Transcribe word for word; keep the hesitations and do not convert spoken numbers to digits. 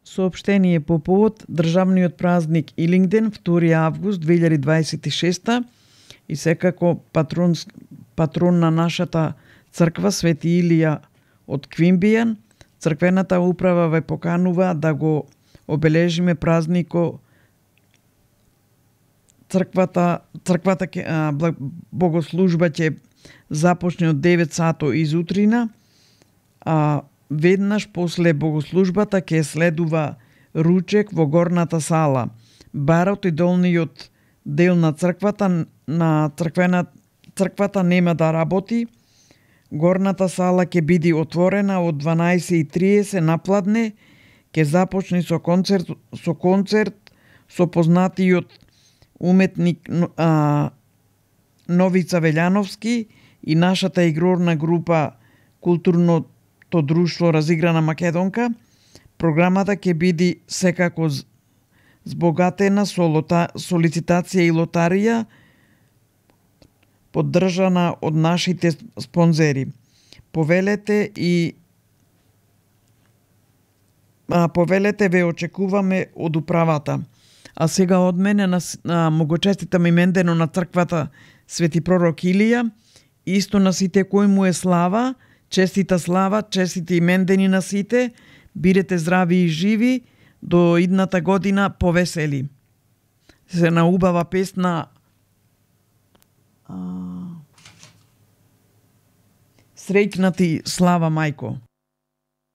Соопштение по повод државниот празник Илингден, втори август две илјади дваесет и шеста, и секако патрон, патрон на нашата црква Свети Илија од Квимбијан, црквената управа ве поканува да го обележиме празнико. Црквата, црквата ке, а, богослужба ќе започне од девет сато изутрина, а веднаш после богослужбата ќе следува ручек во горната сала. Барот и долниот дел на црквата на црквена црквата нема да работи. Горната сала ќе биде отворена од дванаесет и триесет напладне, ќе започне со концерт со концерт со познатиот уметник а, Новица Велјановски и нашата игрорна група Културното друштво Разиграна Македонка. Програмата ќе биде секако збогатена со, лота, со лицитација и лотарија, поддржана од нашите спонзери. Повелете и а, повелете ве очекуваме од управата. А сега од мене на, на му го честитам имендено на црквата Свети пророк Илија, исто на сите кој му е слава, честита слава, честити имендени на сите, бидете здрави и живи, до идната година повесели. Се на убава песна а... Среќна ти слава, мајко.